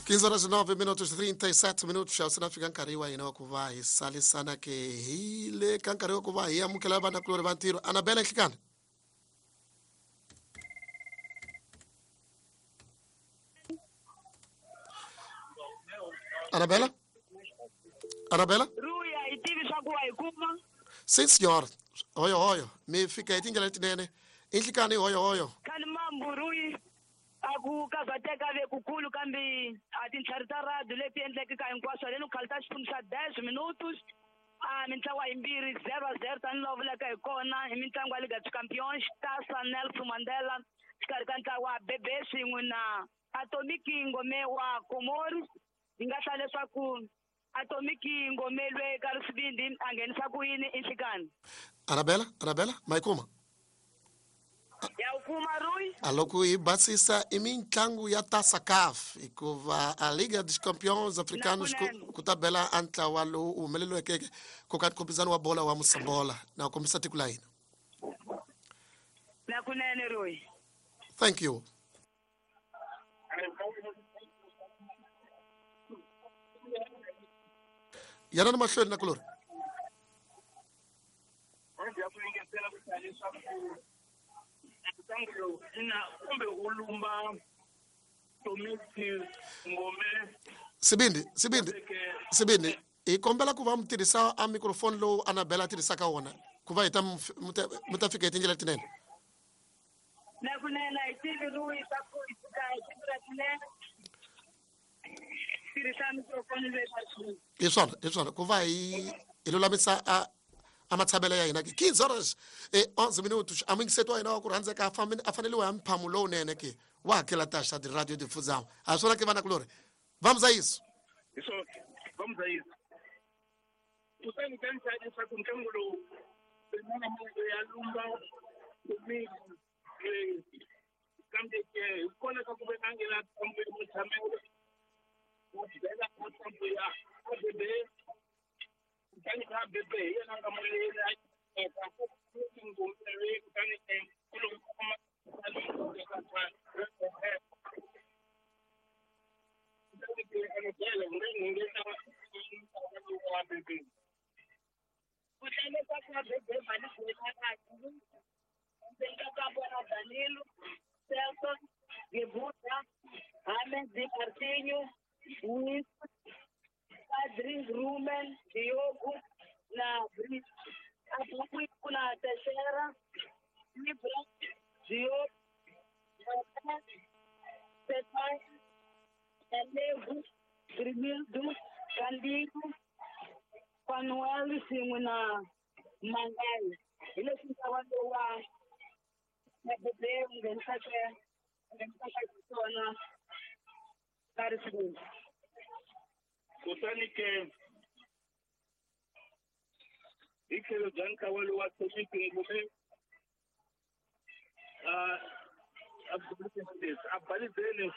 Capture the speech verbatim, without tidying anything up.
quinze horas e nove minutos trinta e sete minutos se na fika nkarhi wa hina wa ku va hi salisana ke hi le ka nkarhi wa ku va hi amukela vanakulori va ntirho. Anabela Nhlikani. Anabela? Anabela? Ruya, hi tivi swa ku wa hi kuma? Sim, senhor. Hoyo, hoyo. Mi fika hi tindlela letinene. I Nhlikani, hoyo, hoyo. Khani mambu, Ruyi. A ku karhateka ve kukulu kambe a tintlhari ta radio leti endleke ka hinkwaswo haleni ku khalita xiphemu xa dez minutos a mintlawa yimbirhi zero a zero tanihi vulaka hi kona hi mitlangu ya Liga dos Campeões Taça Nelson Mandela xikarhi ka ntlawa wa Bebe swin'we na Atomic Ngome wa Comores. Hi nga hlaya leswaku Atomic Ngome lwe ka Risivindi a nghenisa ku yini i Nhlikani. Anabela, Anabela, ma yi kuma? Ya wu kuma, Rui. A loko hi basisa i mitlangu ya Taça C A F hikuva a Liga dos Campeões Africanos ku, ku ta bela a ntlawa lowu u humeleliweke ku ka nkhumpisano wa bola wa Mosambola na ku kombisa tiko la hina. Na kunene, Rui. Thank you. Yana mahlweni na kulori. Ya ku engetela ku hlaya leswaku ntlangu lowu ina kumbe u lumba Tomisi Ngome. Sibindi, Sibindi, Sibindi, hi kombela ku va mi tirhisa a microphone lowu Anabela a tirhisaka wona ku va hi ta mi ta fika hi tindlela letinene. Na kunene hi tivi, Rui, swa ku hi fika hi tindlela tinene tirhisa microphone leyi. Hi swona, hi swona, ku va hi hi lulamisa a a matshamelo ya hina ke. quinze horas e onze minutos a muyingiseti wa hina wa ku rhandzeka a faneliwa hi mphamu lowunene ke wa hakela taxa de radio difusão a swona ke vanakulori. Vamos a isso. Hi swona, vamos a isso. Kutani ka ni leswaku ntlangu lowu rin'wana ya lumba Tomisi, kambe ke hi kona ka ku ve a nghena ntambu ya mutshamelo wa bela ka ntambu ya A B B, kutani ka A B B hi yena nga moyeni a eka Ngome, kutani ku loko kuma kutani ke Anabela u nga nghengeta wa A B B. Ku hlaya leswaku A B B va ni kahle endzeni ka kampo na Danilo Celso Gebuta Hamed Martinho Wis Adrin Rumen Diogo na Brit Abuku ku na Teixeira Ibra Diop Pepai Elevo Grimildo Candinho Manuel swin'we na Mangai. Hi leswi ntlawa lowu wa A B B wu nghenisaka nghenisaka xiswona ka Risivindi. Kutani ke hi tlhelo bya ntlawa lowu wa Tomisi Ngome a a balizeni.